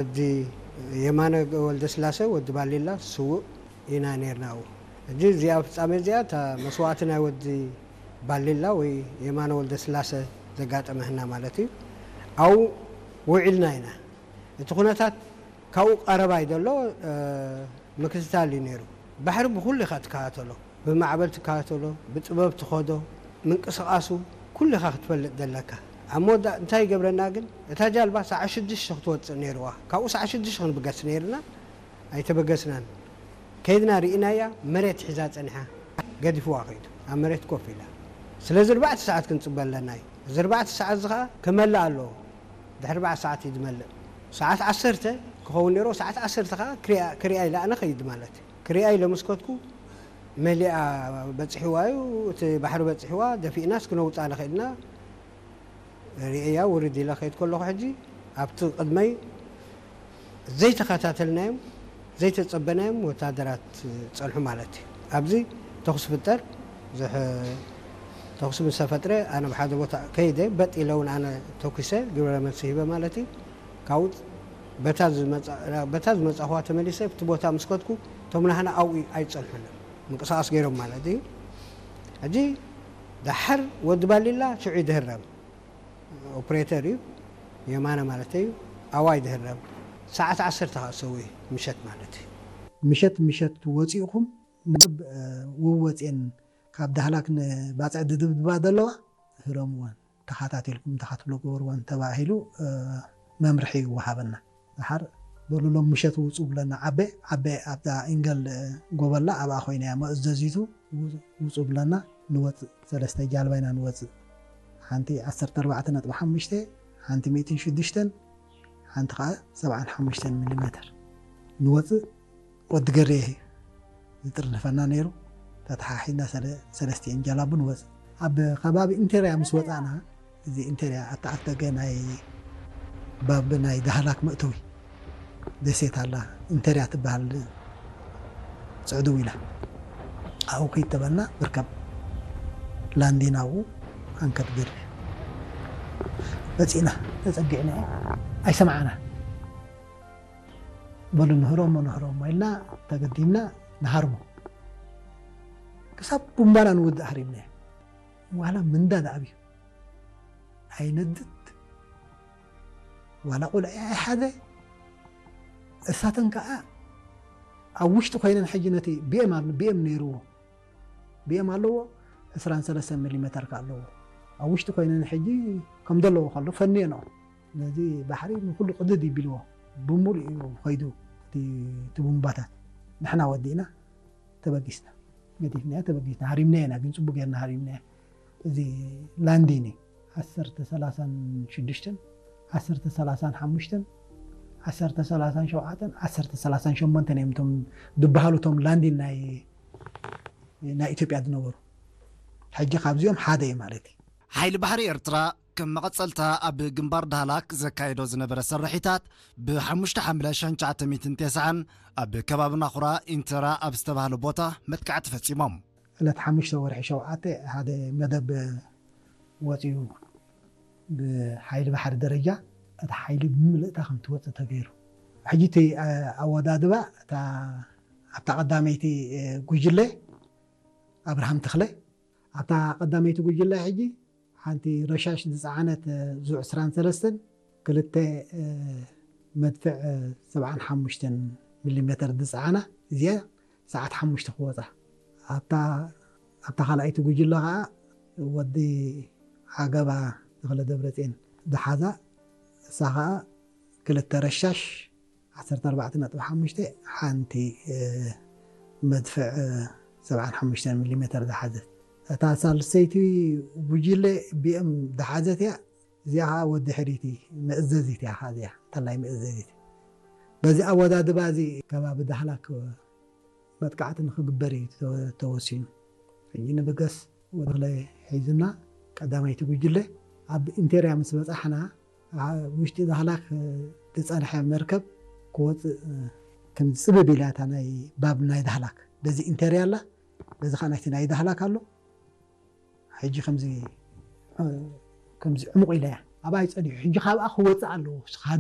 ወዲ የማነ ወልደስላሰ፣ ወዲ ባሊላ፣ ስውእ ኢና ነርና። ኣብኡ ሕጂ እዚኣ ፍጻሜ እዚኣ እታ መስዋእቲ ናይ ወዲ ባሊላ ወይ የማነ ወልደስላሰ ዘጋጠመህና ማለት እዩ። ኣብኡ ውዒልና ኢና። እቲ ኩነታት ካብኡ ቀረባይ ዘሎ ምክትታል እዩ ነይሩ። ባሕሪ ብኹሉ ኢኻ ትከታተሎ፣ ብማዕበል ትከታተሎ፣ ብጥበብ ትኸዶ፣ ምንቅስቓሱ ኩሉ ኢኻ ክትፈልጥ ዘለካ። ኣብ መወዳእ እንታይ ይገብረና ግን፣ እታ ጃልባ ሰዓት ሽዱሽተ ክትወፅእ ነይርዋ። ካብኡ ሰዓት ሽዱሽተ ክንብገስ ነይርና፣ ኣይተበገስናን። ከይድና ርኢናያ፣ መሬት ሒዛ ጸኒሓ፣ ገዲፍዋ ከይዱ። ኣብ መሬት ኮፍ ኢላ። ስለዚ ኣርባዕተ ሰዓት ክንጽበ ኣለና እዩ። እዚ ኣርባዕተ ሰዓት እዚ ኸኣ ክመልእ ኣለዎ። ድሕሪ ኣርባዕተ ሰዓት እዩ ዝመልእ። ሰዓት ዓሰርተ ክኸውን ነይርዎ፣ ሰዓት ዓሰርተ ኸኣ ክሪኣ፣ ክሪኣ ኢለ ኣነ ኸይድ ማለት እዩ። ክሪኣ ኢለ ምስ ከድኩ፣ መሊኣ በጺሕዋ እዩ፣ እቲ ባሕሪ በጺሕዋ፣ ደፊእናስ ክነውጻ ንኽእልና፣ ርእያ ውርድ ኢለ ከይድ ከለኹ፣ ሕጂ ኣብቲ ቅድመይ ዘይተኸታተልናዮም፣ ዘይተጸበናዮም ወታደራት ጸንሑ ማለት እዩ። ኣብዚ ተኹሲ ፍጠር፣ ዝሕ-፣ ተኹሲ ምስ ተፈጥረ፣ ኣነ ብሓደ ቦታ ከይደ፣ በጥ ኢለ እውን ኣነ ተኩሰ፣ ግብረ መልሲ ሂበ ማለት እዩ። ካብኡ በታ ዝመጻ-፣ በታ ዝመጻኹዋ ተመሊሰ፣ ኣብቲ ቦታ ምስ ከድኩ፣ እቶም ናህና ኣብኡ ኣይጸንሑን። ምንቅስቓስ ገይሮም ማለት እዩ። ሕጂ ደሓር ወዲ ባሊላ ሽዑ ይድህረም። ኦፕሬተር እዩ፣ የማነ ማለት እዩ። ኣዋይ ድህረም። ሰዓት ዓሰርተ ኸኣ ሰው እዩ፣ ምሸት ማለት እዩ። ምሸት፣ ምሸት ወፂእኹም፣ ናብ፣ እ፣ ውወፅኤን ካብ ዳህላክ ንባፅዕ ድድብድባ ዘለዋ ህረምወን፣ ተኸታቲልኩም ተኸትሎ ግበርወን ተባሂሉ፣ እ፣ መምርሒ ይወሃበና። ደሓር በሉ ሎም ምሸት ውፁ ብለና። ዓቤ፣ ዓቤ ኣብዛ ኢንገል፣ እ፣ ጎበላ ኣብኣ ኮይና እያ መእዘዚቱ። ው-፣ ውፁ ብለና፣ ንወፅእ። ሰለስተ ጃልባ ኢና ንወፅእ። ሓንቲ ዓሰርተ ኣርባዕተ ነጥቢ ሓሙሽተ፣ ሓንቲ ሚእትን ሽዱሽተን፣ ሓንቲ ኸዓ ሰብዓን ሓሙሽተን ሚሊሜተር። ንወፅእ፣ ወዲ ገሬ ዝጥርንፈና ነይሩ። ተተሓሒዝና ሰለ-፣ ሰለስቲኤን ጃላቡ ንወፅእ። ኣብ ከባቢ ኢንቴርያ ምስ ወፃእና፣ እዚ ኢንቴርያ ኣተኣፍደገ ናይ ባብ ናይ ዳህላክ መእተዊ ደሴት ኣላ፣ ኢንቴርያ ትበሃል፣ ጽዕድው ኢላ። ኣብኡ ከይድ ተበልና፣ ብርከብ ላንዲና ኣብኡ ኣንከር ገርቢ መጺእና፣ ተጸጊዕና፣ ኣይሰምዓና። በሉ ንህረሞ፣ ንህረሞ ኢልና ተገዲምና ንሃርሞ። ክሳብ ቡምባና ንውድእ ሃሪምና። ዋላ ምንዳ ዝኣብዩ ኣይነድድ፣ ዋላ ቆልዓ ኣይሓዘ። እሳተን ከኣ ኣብ ውሽጢ ኮይነን ሕጂ ነቲ ቢኤም ኣሎ፣ ቢኤም ነይርዎ፣ ቢኤም ኣለዎ፣ ዕስራን ሰለስተን ሚሊሜተር ከኣ ኣለዎ። ኣብ ውሽጢ ኮይነን ሕጂ ከም ዘለዎ ከሎ ፈንየንኦ። ነዚ ባሕሪ ንኩሉ ቅድድ ይቢልዎ፣ ብምሉእ እዩ ከይዱ እቲ፣ እቲ ቡምባታት። ንሕና ወዲእና ተበጊስና፣ ገዲፍናዮ ተበጊስና፣ ሃሪምናዮ ኢና፣ ግን ጽቡቅ ጌርና ሃሪምናዮ። እዚ ላንዲን እዩ። ዓሰርተ ሰላሳን ሽዱሽተን፣ ዓሰርተ ሰላሳን ሓሙሽተን፣ ዓሰርተ ሰላሳን ሸውዓተን፣ ዓሰርተ ሰላሳን ሸሞንተን እዮም እቶም ዝበሃሉ እቶም ላንዲን ናይ፣ ናይ ኢትዮጵያ ዝነበሩ። ሕጂ ካብዚኦም ሓደ እዩ ማለት እዩ። ሓይሊ ባሕሪ ኤርትራ ከም መቐጸልታ ኣብ ግንባር ዳህላክ ዘካየዶ ዝነበረ ስርሒታት ብሓሙሽተ ሓምለ ሸሕን ትሽዓተ ሚእትን ተስዓን ኣብ ከባቢ ናኹራ ኢንተራ ኣብ ዝተባህለ ቦታ መጥቃዕቲ ፈጺሞም። ዕለት ሓሙሽተ ወርሒ ሸውዓተ ሓደ መደብ ወጺኡ ብሓይሊ ባሕሪ ደረጃ እቲ ሓይሊ ብምልእታ ከም ትወጽእ ተገይሩ። ሕጂ እቲ፣ እ፣ ኣወዳድባ እታ ኣብታ ቀዳመይቲ፣ እ፣ ጉጅለ ኣብርሃም ተኽለ፣ ኣብታ ቀዳመይቲ ጉጅለ ሕጂ ሓንቲ ረሻሽ ዝጸዓነት፣ እ፣ ዙ ዕስራን ሰለስተን፣ ክልተ፣ እ፣ መድፍዕ፣ እ፣ ሰብዓን ሓሙሽተን ሚሊሜተር ዝጸዓና እዚኣ ሰዓት ሓሙሽተ ክወጻ። ኣብታ፣ ኣብታ ካልኣይቲ ጉጅለ ኸኣ ወዲ ዓገባ ተኽለ ደብረጽዮን ዝሓዛ፣ እሳ ኸኣ ክልተ ረሻሽ ዓሰርተ ኣርባዕተ ነጥቢ ሓሙሽተ፣ ሓንቲ፣ እ፣ መድፍዕ፣ እ፣ ሰብዓን ሓሙሽተን ሚሊሜተር ዝሓዘት። እታ ሳልሰይቲ ጉጅለ ቢኤም ዝሓዘት እያ። እዚኣ ኸዓ ወዲ ሕሪት መእዘዚት እያ፣ ኸዓ እዚኣ እንተላይ መእዘዚት። በዚ ኣወዳድባ እዚ ከባቢ ዳህላክ መጥቃዕቲ ንኽግበር እዩ ተወ-፣ ተወሲኑ። ሕጂ ንብገስ ወድለ ሒዙና ቀዳማይቲ ጉጅለ ኣብ ኢንቴርያ ምስ በጻሕና፣ ኣብ ውሽጢ ዳህላክ ዝጸንሐ መርከብ ክወጽእ ከም ዝጽብብ ኢላ እታ ናይ ባብ ናይ ዳህላክ። በዚ ኢንቴርያ ኣላ፣ በዚ ኸዓ ናይቲ ናይ ዳህላክ ኣሎ። ሕጂ ከምዚ፣ ከምዚ ዕሙቕ ኢላ እያ። ኣብኣ እዩ ጸኒሑ። ሕጂ ካብኣ ክወጽእ ኣለዎ።